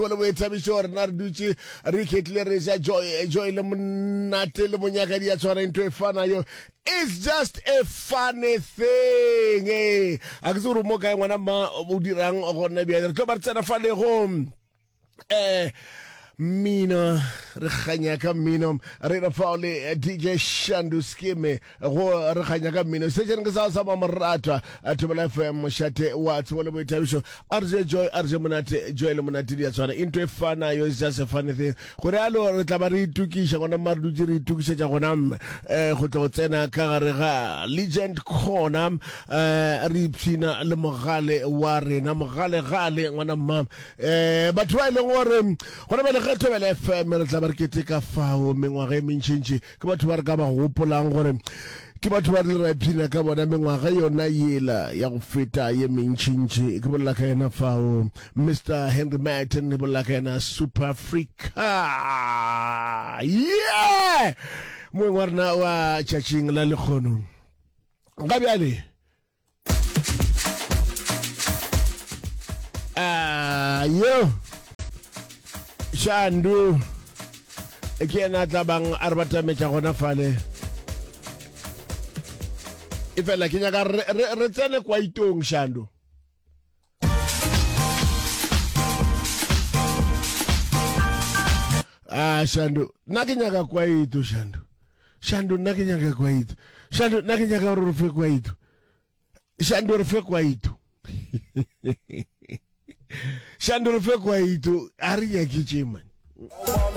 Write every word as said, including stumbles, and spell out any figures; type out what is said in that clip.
Le boithabišo, rena re dutše re iketlile, re ja joy joy le monate le monyaka di a tshwana, ntho e fanayo. It's just a funny thing. Ee, a ke tse gore mo kae, ngwana mma, o dirang gona bjale. Re tlo ba re tsena fa le go um mmino, re kganya ka mmino, re re fao le D J Shandu Skeme go re kganya ka mmino. Sešeng ke sa sa mamoratwa, Thobela F M, mošate wa tsebo le boithabišo. A re je joy, a re je monate, joy le monate di a tshwana, into e fanayo. Is just a funny thing. Gore alo re tla ba re itokiša gona mma, re dutse re itokišetša gona um go tlo go tsena ka gare ga Legend Corner, um re ipshina le mogale wa rena, mogalegale, ngwana mma, um batho ba e leng gore gona bjale ge Thobela F M re tla ba re keteka fao mengwaga e mentšintši, ke batho ba re ka ba gopolang gore ke batho ba re ra ipshina ka bona mengwaga yona yela ya go feta ye mentšintši. Ke bolela ka yena fao Mister Henry Martin, ke bolela ka yena Super Africa, yeah, moeng wa rena wa tšatšing la lekgono ga bjale. Ah, yo Shandu ke yena a tla bang a re batametša gona fale. E fela ke nyaka re, re, re tsene kwa itong, Shandu. Ah, Shandu, nna ke nyaka kwaito. Shandu, Shandu, nna ke nyaka kwaito. Shandu, nna ke nyaka gore re fe kwaito. Shandu, re fe kwaito. Shandu, re fe kwaito. A re nyake tše, man.